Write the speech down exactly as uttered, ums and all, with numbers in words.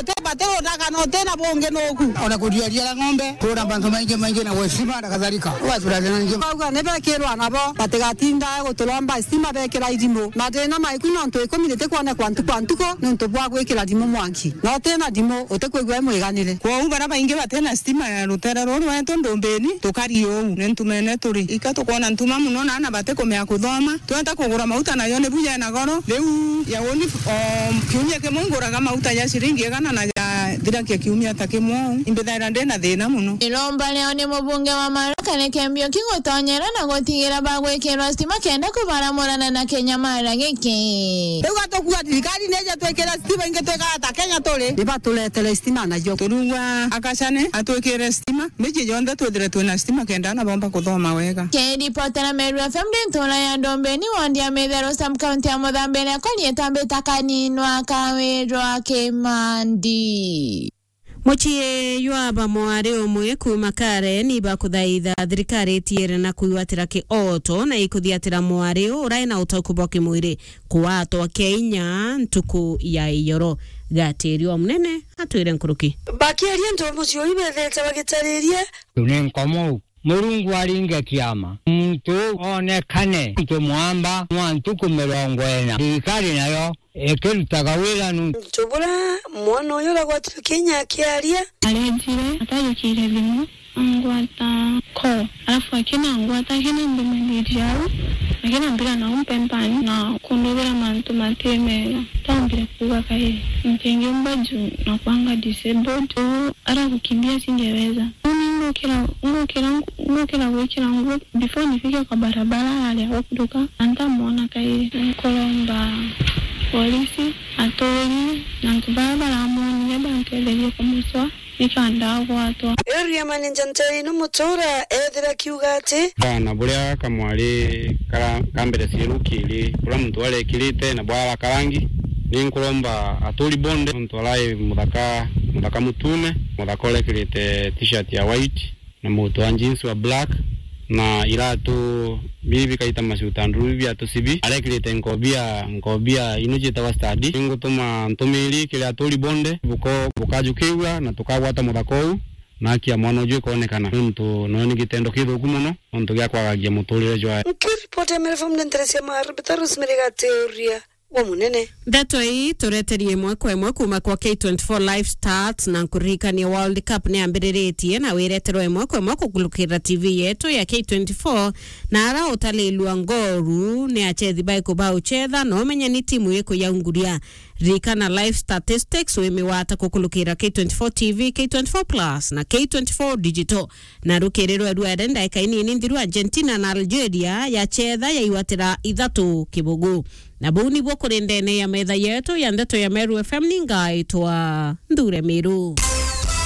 Uti bati rudaga na uti na bungi nuku. Ona kuria ria ng'ombe, kuura mantu maingi maingi na gwe stima na kadhalika. Ugatura thina nyingi. Bauga ni bekirwa nabo, batigatinda guturomba stima bekira irimu. Mathina maiku nontu ikumi ritikwonekwa ntuku kwa ntuku nontu bwa gwikira rimu mwanki. Na uti na rimu, utikwigua i mwiganire. Kwou bara baingi bati na stima ya rutere ruru rwetu Ndumbini, tukari uu, ni ntumene turi. Ika tukwona ntuma mono na ana batikumea kuthoma. Twenda kugura mauta nayo ni buya na goro. Riu ya uni, o kiumia kimwe nguraga mauta ja ciringi igana na ja thirakia kiumia ta kimwe uu. Imbithaira ndi na thina mono. Iromba riao ni mubunge wa Maroka ni Kembioki gutonyera na gutigira bagwikirwa stima kenda kubaramurana na kinyamara giki. Riu gatukua thirikari nije twikire stima ingi twikara ta Kenya turi. Ni baturetere stima najo. Turugwa akacane atwikire stima, miji yonthe twithire twina stima kenda ana bomba kuthoma wega. Kiripotera Meru F M ndi ntura ya Ndombeni, ward ya Mithero, sub county ya Muthambiria, kwa rietwa mbita Kaninwa Kawirwa Kimandi. Mucii jwa ba mwari umwe kuuma Karen ibakuthaitha thirikari itiere na kwigwatira kioto na ikuthiatira mwari urai na utauku bwa kimwiri kuatwa kia inya ntuku ya iyoro. Gatiri o munene atwire nkuruki. Bakiaria antu ba mucii uyu bethete bagitaririe. Ni nkomo Murungu aringe kiama, muntu uu oonekane. Muntu mwamba mwa ntuku mirongo ina, thirikari nayo ikirutaga wira nu. Muntu bura mwana uyu uragwatirwe kinya akiaria. Arejire, atajukire thimu, angwata call, alafu akina angwata, akina mbimaniria au, akina mbira na umpe mpani na kundubira mantu mati mega. Tambire kuuga kairi, ntingiumba juu na kwanga disabled. Aragukimbia singeweza. Uni ngukira, ngukira, ngukira gwikira nguo before nifike kwa barabara aria gukuruka, na ntamwona kairi. Nkuromba polisi, aturi, na antu baria baramwonire bantetherie kumucwa, nikenda agwatwa. Area manager Ntei ni Mutura ethira akiuga ati. Bana buria kamwari kara-, kambere cieru kiri, buria muntu arekirite na bwara karangi, ni nkuromba aturi bonde, muntu arai muthaka, muthaka mutune, muthaka urekirite t-shirt ya white, na mutu wa jeans wa black, na iratu bibi kaita macuta nduru biatu cibi, arekirite nkobia, nkobia ino cietagwa study. Ningutuma ntumiri kiri aturi bonde, buko-, bukajukiigua na tukagwata muthaka uu, na haki ya mwana uju ikonekana, nontu noyo ni gitendo kithuku mono, nontu gia kwagagia muturire jwae. Nkiripoti ya Meru F M ni ntere cia Maru, Peter Rosemary Gateria. Wa munene. Ndeto ii tureterie imwe kwa imwe kuuma kwa K twenty-four Live Stats, na nkuririkanie World Cup ni yambiriritie na wireterwa imwe kwa imwe kukulukira T V yetu ya K twenty-four, na ara utalilua ngoru ni achethi baiku bauchetha, na umenye ni timu iriku yaunguria. Ririkana Live Statistics wimigwata kukulukira K twenty-four T V, K twenty-four Plus na K twenty-four Digital. Na rukirirwe rwere ndaika inini nthiru, Argentina na Algeria yachetha yaigwatira ithatu kibugu. Na buu nibuo kuri ndene ya metha yetu ya ndeto ya Meru F M, ni ngaitwa Nthure Miru.